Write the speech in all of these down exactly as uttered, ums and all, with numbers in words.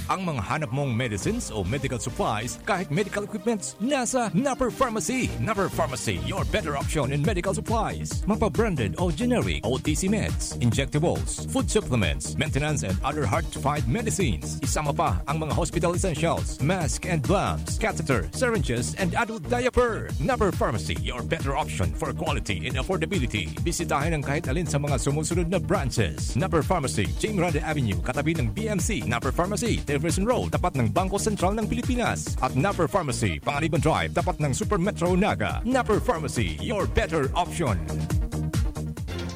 Ang mga hanap mong medicines o medical supplies, kahit medical equipments, nasa Napper Pharmacy. Napper Pharmacy, your better option in medical supplies. Mapa branded o generic O T C meds, injectables, food supplements, maintenance and other hard-to-find medicines. Isama pa ang mga hospital essentials, mask and gloves, catheter, syringes, and adult diaper. Napper Pharmacy, your better option for quality and affordability. Bisitahin ang kahit alin sa mga sumusunod na branches. Napper Pharmacy, Jing Grande Avenue, katabi ng B M C. Napper Pharmacy, Jefferson Road, tapat ng Bangko Sentral ng Pilipinas. At Napper Pharmacy, Panganiban Drive, tapat ng Super Metro Naga. Napper Pharmacy, your better option.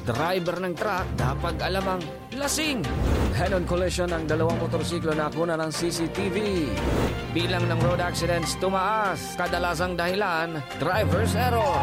Driver ng truck, dapat alamang lasing. Head-on collision ng dalawang motorsiklo na kuna ng C C T V. Bilang ng road accidents tumaas, kadalasang dahilan, driver's error.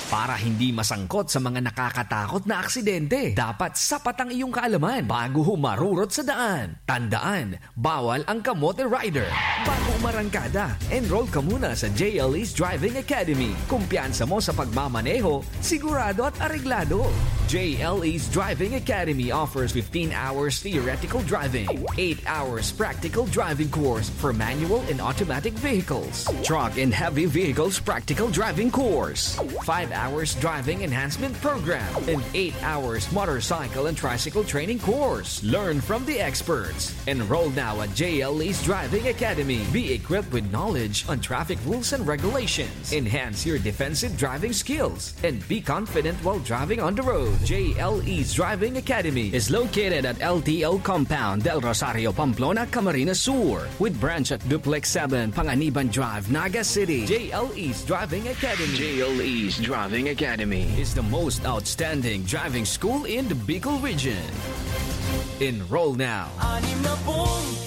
Para hindi masangkot sa mga nakakatakot na aksidente, dapat sapat ang iyong kaalaman bago humarurot sa daan. Tandaan, bawal ang kamote rider. Bago umarangkada, enroll ka muna sa J L E's Driving Academy. Kumpiyansa mo sa pagmamaneho, sigurado at areglado. J L E's Driving Academy offers fifteen hours theoretical driving, eight hours practical driving course for manual and automatic vehicles, truck and heavy vehicles practical driving course, five hours driving enhancement program, and eight hours motorcycle and tricycle training course. Learn from the experts. Enroll now at J L E's Driving Academy. Be equipped with knowledge on traffic rules and regulations. Enhance your defensive driving skills and be confident while driving on the road. J L E's Driving Academy is located at L T O Compound, Del Rosario, Pamplona, Camarines Sur, with branch at Duplex seven, Panganiban Drive, Naga City. J L E's Driving Academy. J L E's Driving Academy is the most outstanding driving school in the Bicol region. Enroll now.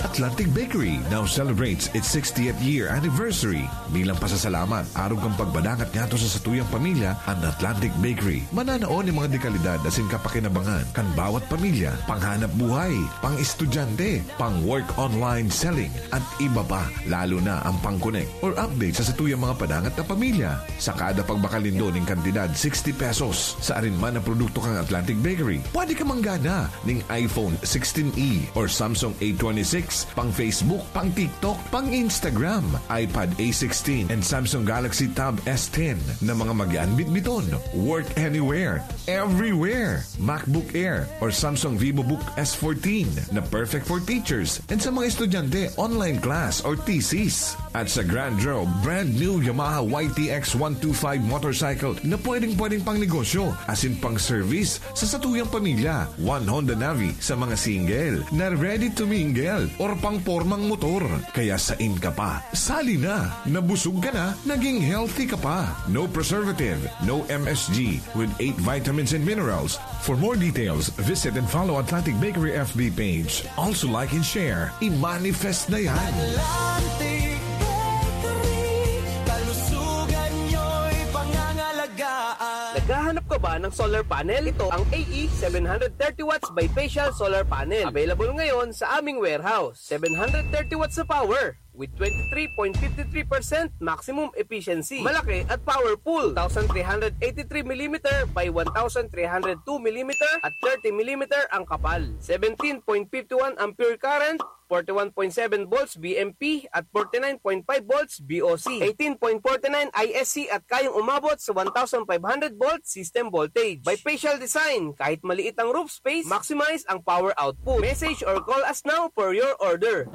Atlantic Bakery now celebrates its sixtieth year anniversary. Bilang pasasalamat, arog kan pagbadangat ngadto sa satuyang pamilya, an Atlantic Bakery mananao nin mga dekalidad asin kapakinabangan kan bawat pamilya, panghanap buhay, pang-estudyante, pang-work online selling, at iba pa, lalo na ang pang-connect or update sa satuyang mga padangat na pamilya. Sa kada pagbakal nindo nin kantidad sixty pesos sa arin man na produkto kan Atlantic Bakery, pwede ka manggana ning iPhone sixteen E or Samsung A twenty-six, pang Facebook, pang TikTok, pang Instagram, iPad A sixteen, and Samsung Galaxy Tab S ten na mga magian bitbiton. Work anywhere, everywhere. MacBook Air or Samsung VivoBook S fourteen na perfect for teachers and sa mga estudyante, online class or thesis. At sa Grand Draw, brand new Yamaha Y T X one two five motorcycle na pwedeng-pwedeng pang negosyo, asin pang service sa satuyang pamilya. One Honda Navi sa mga single na ready to mingle or pang pormang motor. Kaya sain ka pa? Sali na! Nabusog ka na, naging healthy ka pa. No preservative, no M S G, with eight vitamins and minerals. For more details, visit and follow Atlantic Bakery F B page. Also like and share. I-manifest na yan! Atlantic Bakery, kalusugan nyo'y pangangalagaan. Naghahanap ka ba ng solar panel? Ito ang A E seven hundred thirty watts bifacial solar panel. Available ngayon sa aming warehouse. Seven hundred thirty watts na power with twenty-three point five three percent maximum efficiency. Malaki at powerful. Two thousand three hundred eighty-three millimeter by one thousand three hundred two millimeter at thirty millimeter ang kapal. Seventeen point five one ampere current, forty-one point seven volts V M P at forty-nine point five volts V O C, eighteen point forty-nine I S C at kayang umabot sa one thousand five hundred volt system voltage. Bifacial design, kahit maliit ang roof space, maximize ang power output. Message or call us now for your order.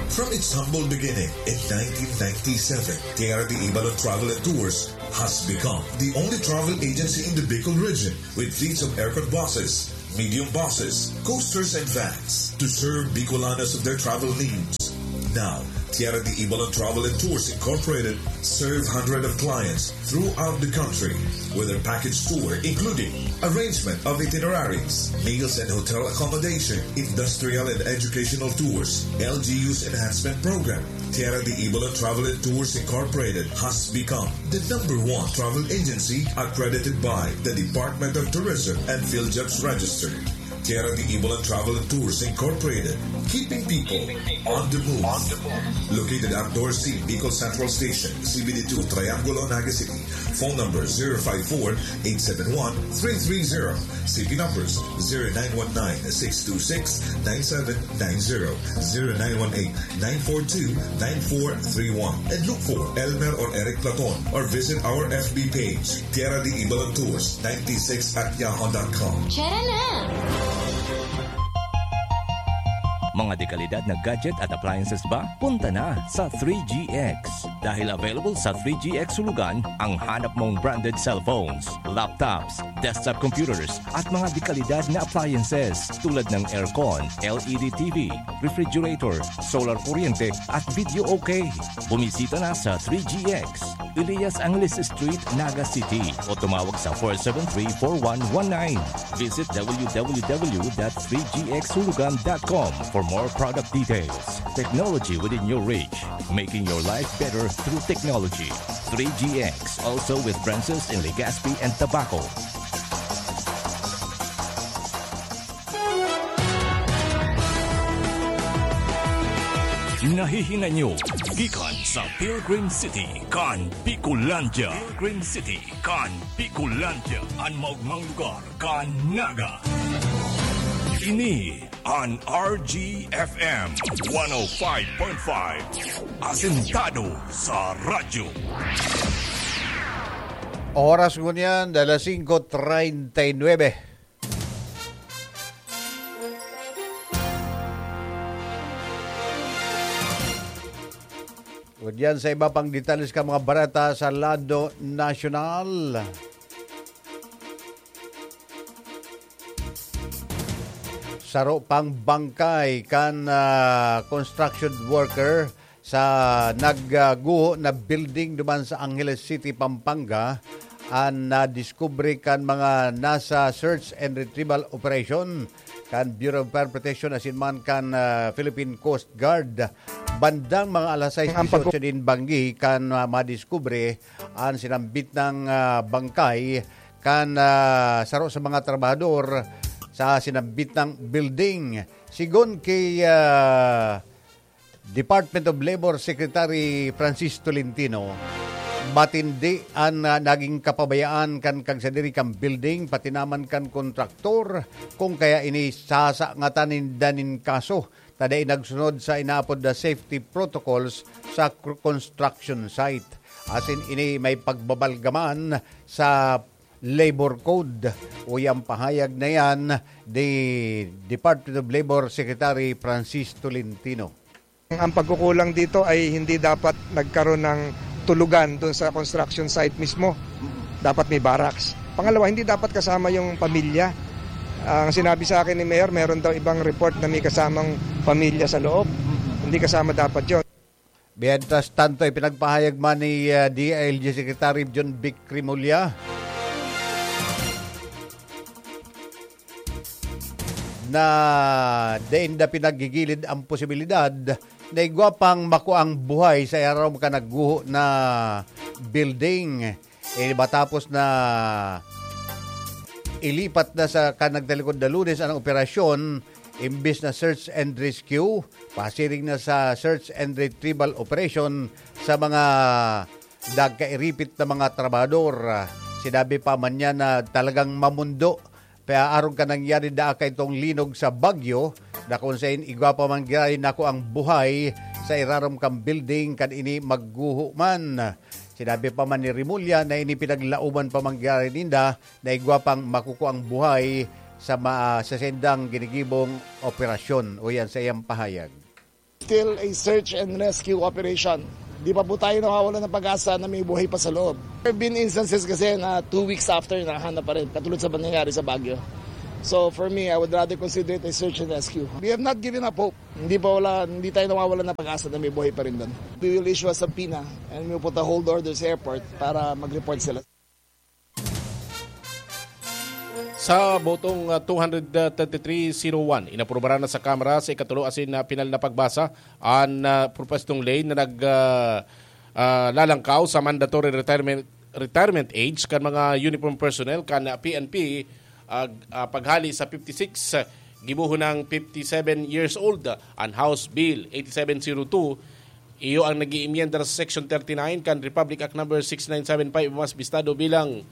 From its humble beginning in nineteen ninety-seven, Tierra de Ibalon Travel and Tours has become the only travel agency in the Bicol region with fleets of aircon buses, medium buses, coasters, and vans to serve Bicolanos of their travel needs. Now, Tierra de Ibalon Travel and Tours Incorporated serve hundreds of clients throughout the country with their package tour, including arrangement of itineraries, meals and hotel accommodation, industrial and educational tours, L G U's enhancement program. Tierra de Ibalon Travel and Tours Incorporated has become the number one travel agency accredited by the Department of Tourism and PhilJobs Register. Tierra de Ibalan Travel and Tours Incorporated, keeping people on the move. Located at Dorsey, Bicol Central Station, C B D two, Triangulo, Naga City. Phone number zero five four, eight seven one, three three zero. C P numbers zero nine one nine, six two six, nine seven nine zero, zero nine one eight, nine four two, nine four three one. And look for Elmer or Eric Platon or visit our F B page, Tierra de Ibalan Tours ninety-six at yahoo dot com. Tara na! Mga dekalidad na gadget at appliances ba? Punta na sa three G X. Dahil available sa three G X Hulugan ang hanap mong branded cellphones, laptops, desktop computers, at mga dekalidad na appliances tulad ng aircon, L E D T V, refrigerator, solar kuryente, at video okay. Bumisita na sa three G X, Elias Angeles Street, Naga City, o tumawag sa four seven three, four one one nine. Visit www.three gxhulugan.com for more product details. Technology within your reach, making your life better through technology. Three G X, also with branches in Legazpi and Tabaco. Nahihinay nyo gikan sa Pilgrim City kan Bicolandia. Pilgrim City kan Bicolandia, an maogmang lugar kan Naga. Ini an R G F M one oh five point five. Asentado sa radyo. Oras ngunyan, alas singko treinta y nuebe. Ngunyan sa iba pang detalles kan mga bareta sa lado nasyonal. Saro pang bangkay kan, ah, construction worker sa nagguho na building duman sa Angeles City, Pampanga, an nadiskubre kan mga nasa search and retrieval operation kan Bureau of Fire Protection asin man kan, ah, Philippine Coast Guard. Bandang mga alas sais Ang pag- dieciocho nin banggi kan, ah, madiskubre an sinambit na, ah, bangkay kan, ah, saro sa mga trabahador sa sinambit na building. Sigon ki, ah, Department of Labor Secretary Francis Tolentino, matindi an, ah, naging kapabayaan kan kagsadiri kan building, pati naman kan kontraktor, kung kaya ini sasangatan ninda nin kaso ta dai nagsunod sa inaapod na safety protocols sa cr-, construction site. Asin ini may pagbabalgaman sa labor code. Uya an pahayag na yan ni Department of Labor Secretary Francis Tolentino. Ang pagkukulang dito ay hindi dapat nagkaroon ng tulugan doon sa construction site mismo. Dapat may barracks. Pangalawa, hindi dapat kasama yung pamilya. Ang sinabi sa akin ni Mayor, meron daw ibang report na may kasamang pamilya sa loob. Hindi kasama dapat yon. Mientras tanto, ipinagpahayag man ni, ah, D I L G Secretary John Vic Remulla na dai nda pinaggigilid ang posibilidad na igwa pang makuang buhay sa irarom kan nagguho na building. Eh, matapos na ilipat na sa kan nagtalikod na Lunes ang operasyon, imbis na search and rescue, pasiring na sa search and retrieval operation sa mga nagkairipit na mga trabahador. Sinabi pa man niya na talagang mamundo pa arog kan nangyari, daa kaidtong linog sa Baguio, na kung sain igwa pa man giraray nakuang buhay sa irarom kan building kan ini magguho man. Sinabi pa man ni Remulla na ini pinaglauman pa man giraray ninda na igwa pang makukuang buhay sa ma-, sa saindang ginigibong operasyon, uyan sa iyang pahayag. Still a search and rescue operation. Di pa po tayo nawawalan ng pag-asa na may buhay pa sa loob. There have been instances kasi na two weeks after, nahanap pa rin, katulad sa nangyayari sa Baguio. So for me, I would rather consider it a search and rescue. We have not given up hope. Hindi pa wala, hindi tayo nawawalan ng pag-asa na may buhay pa rin doon. We will issue a subpoena and we will put a hold order sa airport para mag-report sila. Sa botong, ah, two hundred thirty-three zero one, inaprubaran na sa Kamara sa ikatulo asin, ah, pinal na pagbasa an, ah, propwestong ley na nag, ah, ah, lalangkaw sa mandatory retirement, retirement age kan mga uniform personnel kan, ah, P N P, ah, ah, paghali sa fifty-six gibohon ng fifty-seven years old. An House Bill eighty-seven zero two, iyo ang nag-iimyenda sa Section thirty-nine kan Republic Act Number six nine seven five, mas bistado bilang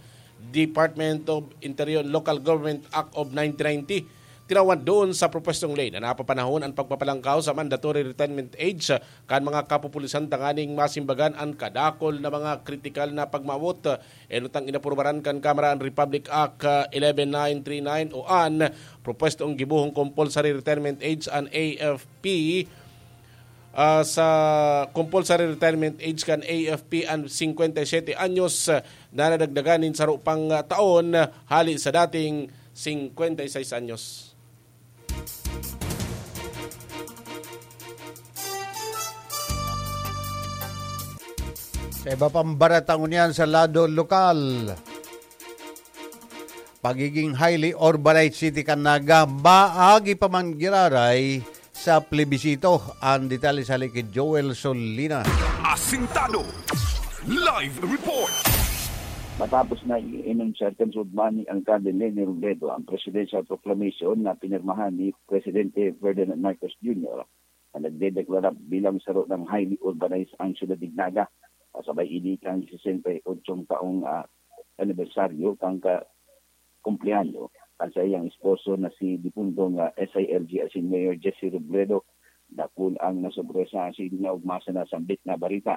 Department of Interior and Local Government Act of nineteen ninety. Tinawan doon sa propostong ley na napapanahon ang pagpapalangkaw sa mandatory retirement age kan mga kapupulisan tanganing masimbagan an kadakol na mga kritikal na pagmawot. Enot ang inaprubaran kan Kamara an Republic Act, ah, eleven nine three nine o an propostong gibohong compulsory retirement age an A F P, ah, sa compulsory retirement age kan A F P an singkwenta y siyete anyos, ah, na nadagdagan nin saro pang, ah, taon, ah, hali sa dating singkwenta y seis anyos. Sa iba pang barata ngunyan sa lado lokal, pagiging highly urbanized city kan Naga, maagi pa man giraray sa plebisito. Ang detalye sa hali ki Joel Solina. Asintado. Live report. Matapos na i-enunciar kan Sudmani ang Alkalde Leni Robredo ang presidential proclamation na pinirmahan ni Presidente Ferdinand Marcos Junior na nagdedeklara bilang saro ng highly urbanized ang siyudad nin Naga, kasabay ini kan sesenta y ocho taong, ah, anibersaryo kan ka-, kumpleanyo kan saiyang esposo na si dipuntong, ah, S I L G asin Mayor Jesse Robredo. Dakul ang nasorpresa asin naugmasan na sambit na bareta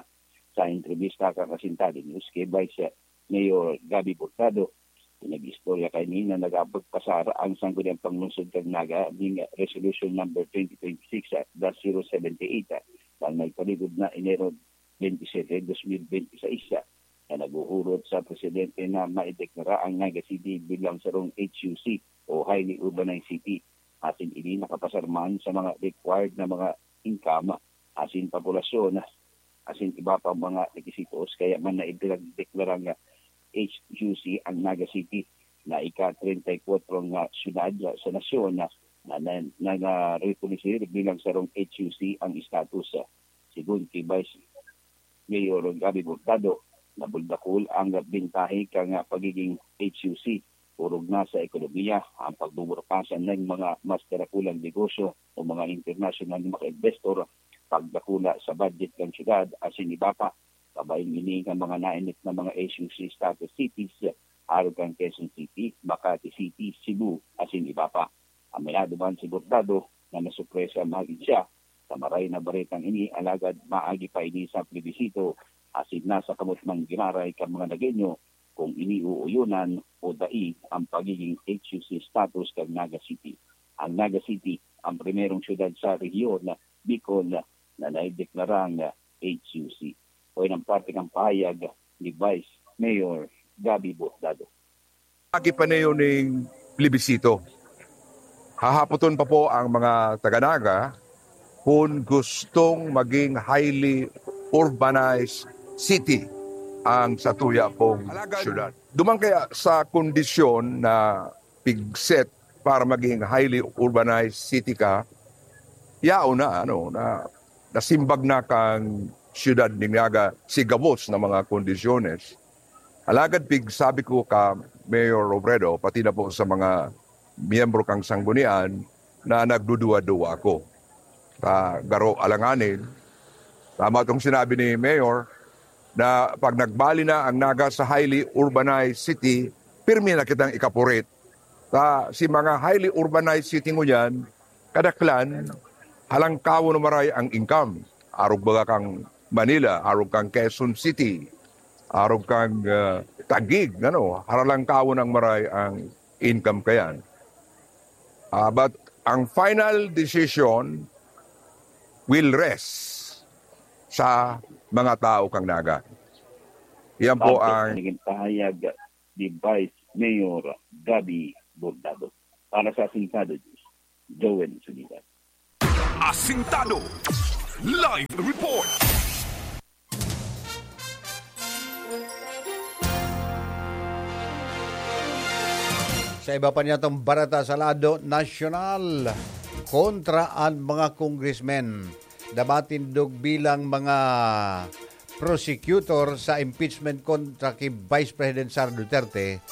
sa entrebista kan Asintado News ki Vice Mayor Gabby Hurtado. Pinag-istorya kaini na nagapagpasar ang Sangguniang Panglungsod kan Naga ning Resolution Number twenty twenty-six dash zero seventy-eight, na nagpaligod na Enero twenty-seven, dos mil benti seis, na naghuhurot sa presidente na maideklara ang Naga City bilang sarong H U C o Highly Urbanized City, asin ini nakapasar man sa mga required na mga income asin populasyon asin iba pang mga requisitos, kaya man na ipinagdeklara nga H U C ang Naga City, na ika-treinta y kuwatro nga syudad sa nasyon na, na, na, na narekonoser bilang sarong H U C ang estatus. Sigon ki Vice Mayor Gabby Hurtado, nabuldakol ang bentahe kan pagiging H U C, orog na sa ekonomiya, ang pagbuburukasan nin mga mas darakulang negosyo o mga internasyonal na mga investor, pagdakula sa budget kan syudad, asin iba pa. Kabaing ini kan mga nainit na mga H U C status cities, arog kan Quezon City, Makati City, Cebu, asin iba pa. Aminado man si Hurtado na nasorpresa magin siya sa maray na baretang ini, alagad maagi pa ini sa plebisito, asin nasa kamot man giraray kan mga Nagueño kung ini uuyonan o dai ang pagiging H U C status kan Naga City. Ang Naga City ang primerong syudad sa rehiyon, Bicol, na naideklarang H U C. O, yan ang parte kan pahayag ni Vice Mayor Gabby Hurtado. Agi pa niyo ning plebisito. Hahapoton pa po ang mga taga-Naga kung gustong maging highly urbanized city ang satuya pong syudad. Duman kaya sa kondisyon na pigset para maging highly urbanized city ka, yaon na, ano, na nasimbag na kan syudad nin Naga si gabos na mga kondisyones. Alagad pigsabi ko ka Mayor Robredo, pati na po sa mga miyembro kan sanggunian, na nagduduwa-duwa ako. Ta garo alanganin, tama tong sinabi ni Mayor, na pag nagbali na ang Naga sa highly urbanized city, pirmi na kitang ikapurit. Ta si mga highly urbanized city ngunyan, kadaklan, halangkawon na maray ang income. Arog baga kang Manila, arog kang Quezon City, arog kang, ah, Taguig, ano, haralangkawon ang maray ang income kayan. Ah, but ang final decision will rest sa mga tao kang Naga. Yan po ang naging pahayag ni Vice Mayor Gabby Hurtado. Para sa Asintado News, Joel Suliban. Asintado Live Report. Sa iba pa niyatong barata sa lado nasyonal, kontra an mga congressmen na matindog bilang mga prosecutor sa impeachment kontra ki Vice President Sara Duterte,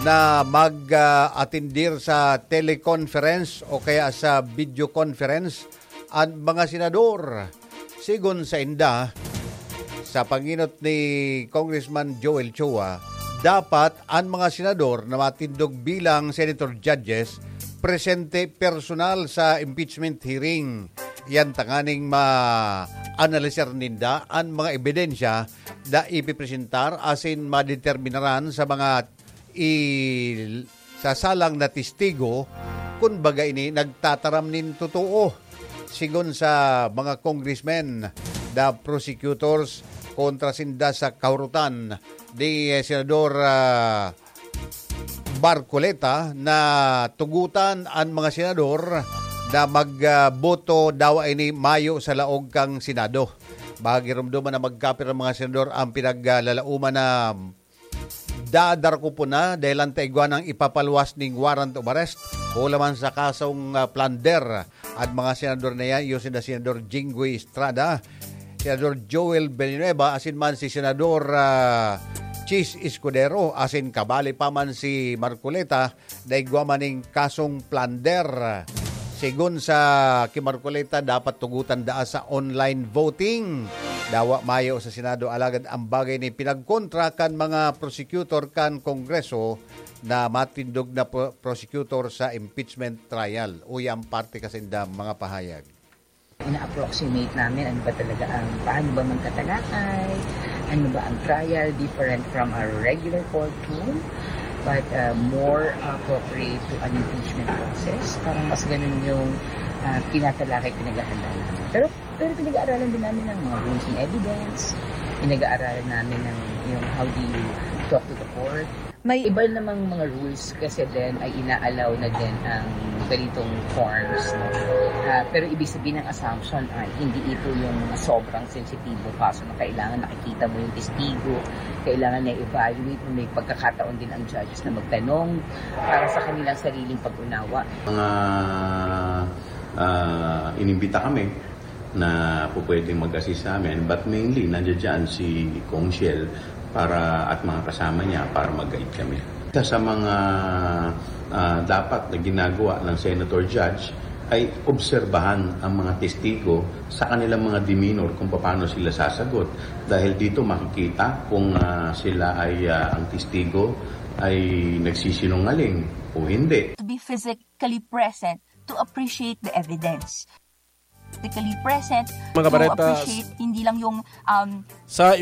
na mag-atindir sa teleconference o kaya sa video conference an mga senador. Sigon sa inda, sa pangenot ni Congressman Joel Chua, dapat an mga senador na matindog bilang senator judges presente personal sa impeachment hearing. Yan tanganing ma-analisar ninda an mga ebidensya na ipipresentar asin madeterminaran sa mga i-, sasalang na testigo, kun baga ini nagtataram nin totoo. Sigon sa mga congressmen na prosecutors kontra sinda sa kahurutan ni, eh, Senador, ah, Marcoleta na tugutan an mga senador na mag, ah, boto dawa ini mayo sa laog kan Senado. Magiromdoman na magkapir ang mga senador ang pinaglalauman na dadar ko po na dahil ang taigwa ng ipapaluwas ning warrant of arrest. Hula man sa kasong, ah, plunder at mga senador na yan, yung sina Senador Jinggoy Estrada, Senador Joel Villanueva, asin man si Senador, ah, Chiz Escudero, asin kabali pa man si Marcoleta, na igwa man ning kasong plunder. Sigon sa ki Marcoleta, dapat tugutan daa sa online voting. Dawa mayo sa Senado, alagad ang bagay ni pinagkontra kan mga prosecutor kan Kongreso na matindog na pro-, prosecutor sa impeachment trial. Uya ang parte kasinda mga pahayag. Ina-approximate namin ano ba talaga ang, paano ba magtatalakay, ano ba ang trial, different from a regular courtroom, but uh, more appropriate to an impeachment process. Parang mas ganun yung uh, tinatalakay, pinaghahanda namin. Pero, pero pinag-aaralan din namin ng mga rules and evidence, pinag-aaralan namin ng yung how do you talk to the court. May iba namang mga rules kasi din ay ina-allow na din ang ganitong forms. No? Ah, pero ibig sabihin ng assumption ay hindi ito yung sobrang sensitibo kaso na kailangan nakikita mo yung testigo, kailangan na evaluate mo, may pagkakataon din ang judges na magtanong para sa kanilang sariling pag-unawa. Mga ah, inimbita kami na pupwedeng mag-assist sa amin, but mainly nandiyan dyan si Kong Shell para, at mga kasama niya para mag-guide kami. Isa sa mga ah, dapat na ginagawa ng Senator Judge ay obserbahan ang mga testigo sa kanilang mga demeanor kung paano sila sasagot. Dahil dito makikita kung ah, sila ay ah, ang testigo ay nagsisinungaling o hindi. To be physically present to appreciate the evidence. Physically present Mga to bareta, appreciate hindi lang yung um, sa